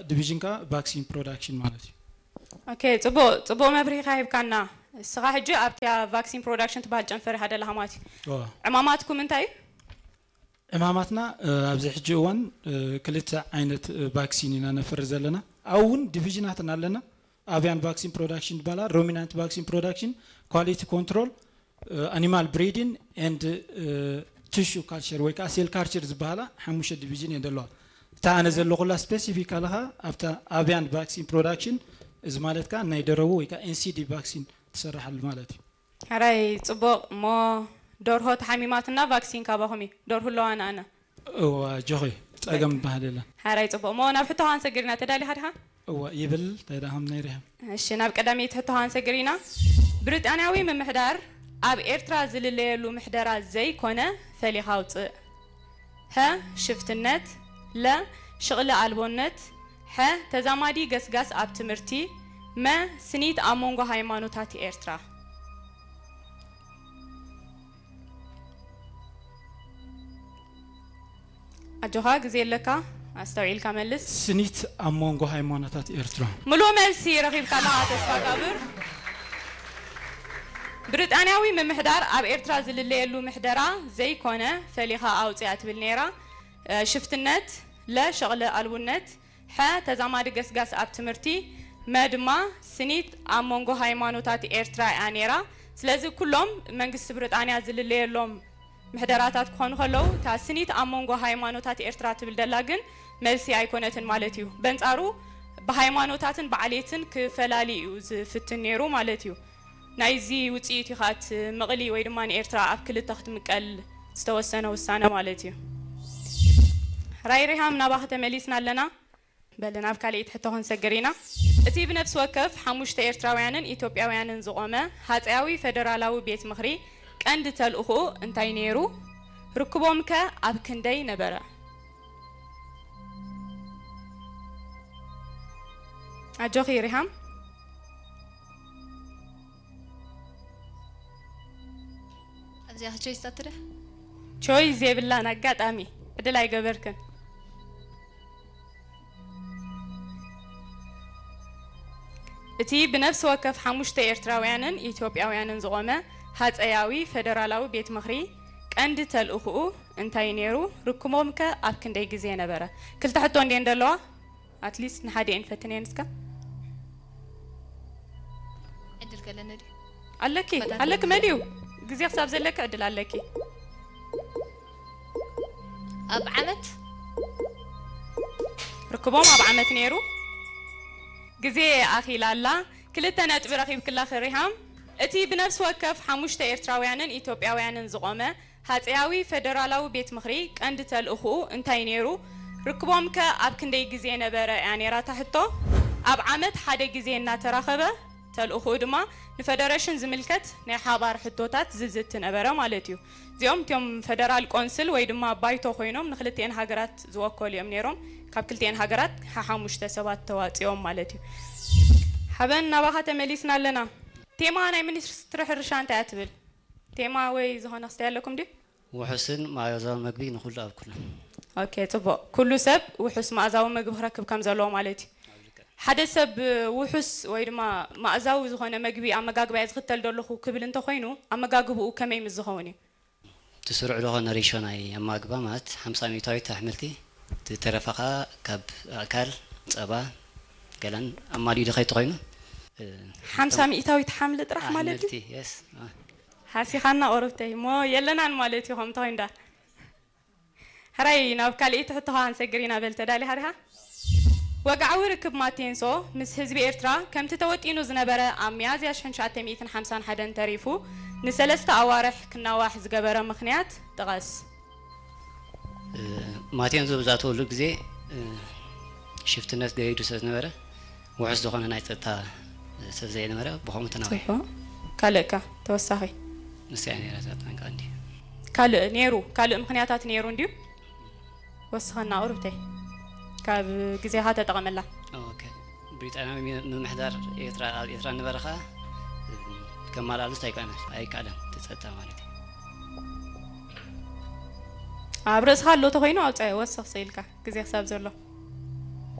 ዲቪዥን ከኣ ቫክሲን ፕሮዳክሽን ማለት እዩ። ኦኬ፣ ጽቡቕ፣ ጽቡቕ መብርሂ ኢኻ ሂብካና። እስኻ ሕጂ ኣብቲ ኣብ ቫክሲን ፕሮዳክሽን ትበሃል ጨንፈር ኢኻ ደለኻ ማለት እዩ። እዋ። ዕማማትኩም እንታይ እዩ? ዕማማትና፣ እ፣ ኣብዚ ሕጂ እዋን፣ እ፣ ክልተ ዓይነት፣ እ፣ ቫክሲን ኢና ነፍሪ ዘለና። ኣብኡ እውን ዲቪዥናትና ኣለና። ኣቪያን ቫክሲን ፕሮዳክሽን ይበሃል፣ ሩሚናንት ቫክሲን ፕሮዳክሽን፣ ኳሊቲ ኮንትሮል፣ እ፣ ኣኒማል ብሪዲን ኤንድ፣ እ፣ ቲሹ ካልቸር ወይ ከዓ ሴል ካልቸር ዝበሃላ ሓሙሽተ ዲቪዥን እየን ዘለዋ። እታ ኣነ ዘለኹላ ስፔሲፊክ ኣለኻ ኣብታ ኣቪያን ቫክሲን ፕሮዳክሽን፣ እዚ ማለት ከዓ ናይ ደረቡ ወይ ከዓ ኤንሲዲ ቫክሲን ትሰርሓሉ ማለት እዩ። ሕራይ ጽቡቕ። እሞ ደርሆ ተሓሚማትና ቫክሲን ካባኹም እዩ። ደርሁ ኣለዋ ንኣና። እዋ፣ ጆኺ፣ ጸገም ዝበሃል የለን። ሕራይ ጽቡቕ። እሞ ናብ ሕቶ ሃንሰግር ኢና። ተዳሊኻ ዲኻ? እዋ፣ ይብል። እንታይ ደኣ ከም ናይ ሪሃም። እሺ፣ ናብ ቀዳመይቲ ሕቶ ሃንሰግር ኢና። ብሪጣንያዊ ምምሕዳር ኣብ ኤርትራ ዝልለየሉ ምሕደራ ዘይኮነ ፈሊኻ ኣውጽእ። ሀ፣ ሽፍትነት፣ ለ፣ ሽቕሊ ኣልቦነት፣ ሐ፣ ተዛማዲ ገስጋስ ኣብ ትምህርቲ፣ መ፣ ስኒት ኣብ መንጎ ሃይማኖታት ኤርትራ። ኣጆኻ፣ ግዜ ኣለካ፣ ኣስተውዒልካ መልስ። ስኒት ኣብ መንጎ ሃይማኖታት ኤርትራ። ምሉእ መልሲ ረኺብካ ኣለኻ ተስፋጋብር። ብሪጣንያዊ ምምሕዳር ኣብ ኤርትራ ዝልለየሉ ምሕደራ ዘይኮነ ፈሊኻ ኣውጽኣ ትብል ነይራ። እ፣ ሽፍትነት፣ ለ፣ ሸቕሊ ኣልቡነት፣ ሐ፣ ተዛማዲ ገስጋስ ኣብ ትምህርቲ፣ መ ድማ ስኒት ኣብ መንጎ ሃይማኖታት ኤርትራ እያ ነይራ። ስለዚ ኩሎም መንግስቲ ብሪጣንያ ዝልለየሎም ምሕደራታት ክኾኑ ከለዉ፣ እታ ስኒት ኣብ መንጎ ሃይማኖታት ኤርትራ ትብል ደላ ግን መልሲ ኣይኮነትን ማለት እዩ። በንጻሩ ብሃይማኖታትን ብዓሌትን ክፈላሊ እዩ ዝፍትን ነይሩ ማለት እዩ። ናይዚ ውጽኢት እዩ ከኣ እቲ ምቕሊ ወይ ድማ ንኤርትራ ኣብ ክልተ ክትምቀል ዝተወሰነ ውሳነ ማለት እዩ። ራይ ሪሃም ናባኺ ተመሊስና ኣለና። በል ናብ ካልኣይቲ ሕቶ ክንሰግር ኢና። እቲ ብነፍሲ ወከፍ ሓሙሽተ ኤርትራውያንን ኢትዮጵያውያንን ዝቖመ ሃጸያዊ ፈደራላዊ ቤት ምኽሪ ቀንዲ ተልእኾኡ እንታይ ነይሩ? ርክቦም ከ ኣብ ክንደይ ነበረ? ኣጆኺ ሪሃም። ኣብዚኣ ቾይስ ኣትደ? ቾይስ የብላን፣ ኣጋጣሚ ዕድል ኣይገበርክን። እቲ ብነፍሲ ወከፍ ሓሙሽተ ኤርትራውያንን ኢትዮጵያውያንን ዝቖመ ሃጸያዊ ፈደራላዊ ቤት ምኽሪ ቀንዲ ተልእኾኡ እንታይ ነይሩ? ርክቦም ከ ኣብ ክንደይ ግዜ ነበረ? ክልተ ሕቶ እንድየን ዘለዋ? ኣትሊስት ንሓደ እየን ፈትነየን እስከ። ዕድል ከለኒ ድዩ? ኣለኪ፣ ፈታተኒ። ኣለኪ መሊኡ። ግዜ ክሳብ ዘለኪ ዕድል ኣለኪ። ኣብ ዓመት? ርክቦም ኣብ ዓመት ነይሩ። ግዜ ኣኺላ ኣላ። ክልተ ነጥቢ ረኺብክላ ሪሃም። እቲ ብነፍሲ ወከፍ ሓሙሽተ ኤርትራውያንን ኢትዮጵያውያንን ዝቖመ ሃጸያዊ ፈደራላዊ ቤት ምኽሪ ቀንዲ ተልእኾኡ እንታይ ነይሩ? ርክቦም ከ ኣብ ክንደይ ግዜ ነበረ እያ ነይራ እታ ሕቶ። ኣብ ዓመት ሓደ ግዜ እናተራኸበ፣ ተልእኾኡ ድማ ንፈደረሽን ዝምልከት ናይ ሓባር ሕቶታት ዝዝቲ ነበረ ማለት እዩ። እዚኦም እቲኦም ፈደራል ቆንስል ወይ ድማ ባይቶ ኮይኖም ንክልቲኤን ሃገራት ዝወከሉ እዮም ነይሮም። ካብ ክልቲኤን ሃገራት ሓሓሙሽተ ሰባት ተዋፂኦም ማለት እዩ። ሓበን ናባኻ ተመሊስና ኣለና። ቴማ ናይ ሚኒስትሪ ሕርሻ እንታይ እያ ትብል? ቴማ ወይ ዝኾነ ክስታይ ኣለኩም ድዩ? ውሑስን መኣዛዊ መግቢ ንኹሉ ኣብ ኩሉ። ኦኬ፣ ጽቡቕ። ኩሉ ሰብ ውሑስ መኣዛዊ መግቢ ክረክብ ከም ዘለዎ ማለት እዩ። ሓደ ሰብ ውሑስ ወይ ድማ መኣዛዊ ዝኾነ መግቢ ኣመጋግባ እየ ዝኽተል ዘለኹ ክብል እንተኾይኑ፣ ኣመጋግብኡ ከመይ ምስ ዝኸውን እዩ? እቲ ስሩዕ ዝኾነ ሬሾ ናይ ኣመጋግባ ማለት ሓምሳ ሚእታዊት ኣሕምልቲ፣ እቲ ተረፈ ኸኣ ካብ ኣእካል፣ ጸባ፣ ገለን ኣማሊኡ ድኸይ ተኾይኑ፣ እ፣ ሓምሳ ሚእታዊት ሓምሊ ጥራሕ ማለት እዩ? ኣሕምልቲ፣ የስ። አ። ሃሲኻና ቁሩብተይ፣ እሞ የለናን ማለት እዩ፣ ከምኡ ተኾይኑ ዳ። ሕራይ፣ ናብ ካልኣይቲ ሕቶኻ ክንሰግር ኢና፣ በል ተዳሊኻ ዲኻ? ወግዓዊ ርክብ ማቴንሶ ምስ ህዝቢ ኤርትራ ከምቲ ተወጢኑ ዝነበረ ኣብ ሚያዝያ ሽሕን ትሽዓተ ሚእትን ሓምሳን ሓደን ተሪፉ ንሰለስተ ኣዋርሕ ክናዋሕ ዝገበረ ምኽንያት ጥቐስ። እ፣ ማቴንሶ ብዝኣተወሉ ግዜ፣ እ፣ ሽፍትነት ገይዱ ስለ ዝነበረ፣ ውሑስ ዝኾነ ናይ ጸጥታ ስለ ዘይነበረ፣ ብኸምኡ ተናዊሑ። ጽቡቕ። ካልእ ከ ተወሳኺ? ንሳ እያ ነይራ እዛ ጠንቂ ቀንዲ። ካልእ ነይሩ? ካልእ ምኽንያታት ነይሩ እንድዩ? ወስኸና ቁሩብተይ። ካብ ግዜኻ ተጠቐመላ። ኦኬ። ብሪጣንያዊ ሚ-፣ ምምሕዳር ኤርትራ ኣብ ኤርትራ ነበረ ኸኣ፣ ከማልኣሉስ ኣይከኣለን፣ ኣይከኣለን፣ እቲ ጸጥታ ማለት እዩ። ኣብ ርእስኻ ኣሎ ተኾይኑ ኣውጻዮ፣ ወስኽ ስኢልካ፣ ግዜ ክሳብ ዘሎ።